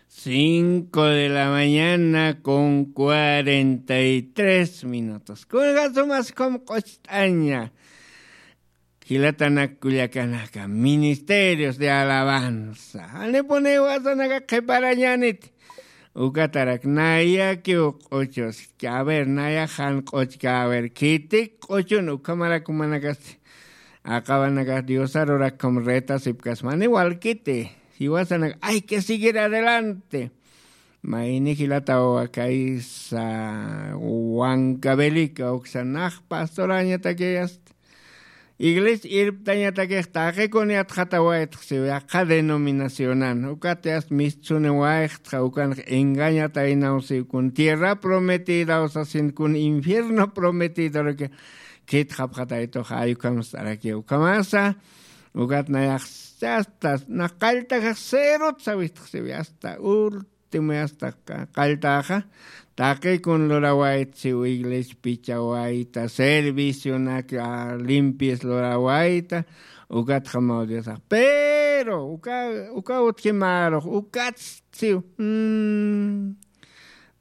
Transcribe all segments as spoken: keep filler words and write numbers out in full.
Cinco de la mañana con cuarenta y tres minutos. Kunjasumas com q'ucht'aña. Jilatanak kullakanaka, ministerios de alabanza. Janipuni wasanaka qhiparañanit. Ukatarak nayakiw q'uchus. A ver, nayax jan q'uchka, a ver, khitik q'uchun, ukhamarakumanakasti. Aqawanakax Diosarurak com retasipkasmani walkiti. Jiwasanaka, hay que seguir adelante. Mayni jilata wawakaysa, wankabelika uksa nax pastorañatakiyasta. Iglesia irptañatakix taqikun yatxatawaytxsiw yaqha denominacionan. Ukat yast mistsuni wayxtxa ukanx engañataynaw siw kun tierra prometidaw sasin kun infierno prometidoraki khitxapxataytux ay ukham st'araki ukhamasa. Ukat nayax yasta nax qalltajax cerot sawistxsiw yasta ul Timuyasta qalltaxa taqikun lurawayta siw iglesia pichawayta servicionak limpies lurawayta. Ukatxamaw diosax pero uka uka utjimarux ukatstiw.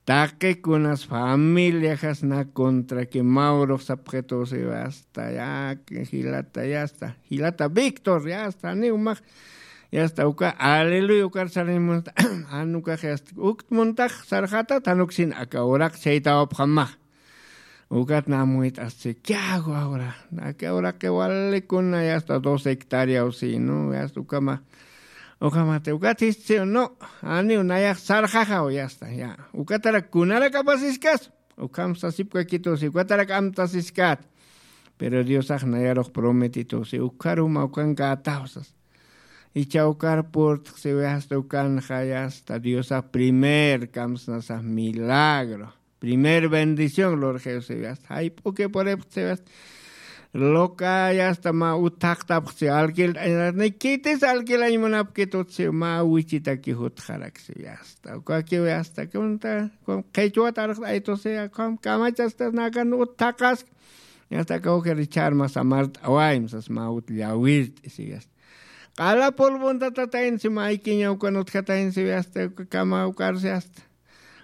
Taqikunas familiaxas na contraki mawrux sapxitusiw asta ya jilata yasta jilata victor yasta niw max. Yasta uka aleluya ukar sarnimunta. Anukax yasta ukt muntax sarxatat anuksin aka uraq chaytawapxamax. Ukat namuyt'asti kiago awra aka uraqi walikuna yasta dos hectáreaw sinu yasta ukama. Ukamati ukat istiw no aniw nayax sarxaxaw yasta ya ukatarak kunarak apasiskas. Ukham sasipkakitusi ukatarak amtasiskat. Pero diosax nayarux prometitusi ukharuma ukankatawsas. Icha ukar purtxsiwi asta ukanxa yasta diosax primer kamsnasax milagro primer bendición lurxiwsiwi asta jayp'uki puripxsiwi asta. Loka yasta ma uthaqtapxsiw alquilt'añarat ni khitis alquilañ munapkitutsi ma wichitaki jutxaraksiw asta ukakiw asta kunta qhichwat arxt'aytusi akham kamachastas nakan uthaqask. Asta kawkir icharma samart'awayma sas ma ut llawirt'isiw asta. Q'ala pulvuntatataynsi ma aykiñaw kan utjataynsiw asta kama ukarsi asta.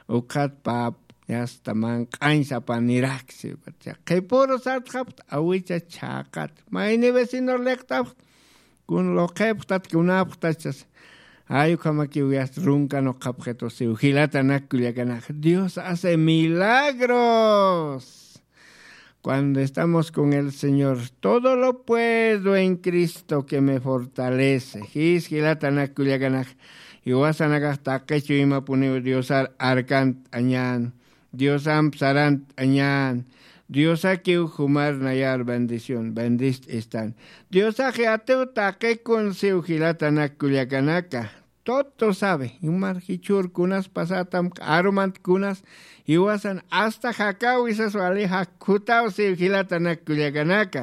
Ukxat pap yasta manq'añ sapanirak siwkat qhipuru sartxapxta awicha chhaqat mayni vecinor liqt'apxta. Kun luqhipxtat kunapxtachas. Ay ukhamakiw yasta runkan uqhapxitusiw jilatanak kullakanak dios hace milagros. Cuando estamos con el señor todo lo puedo en cristo que me fortalece jis jilatanak kullakanak. Iwasanakax taqichu imapuniw diosar arkant'añan. Diosamp sarant'añan. Diosakiw jumar nayar bendición bendist'istan. Diosax yatiw taqikun siw jilatanak kullakanaka. Todo sabe jumar jichhur kunas pasatam q'arumant kunas iwasan asta jakaw isas wali jakkutaw siw jilatanak kullakanaka.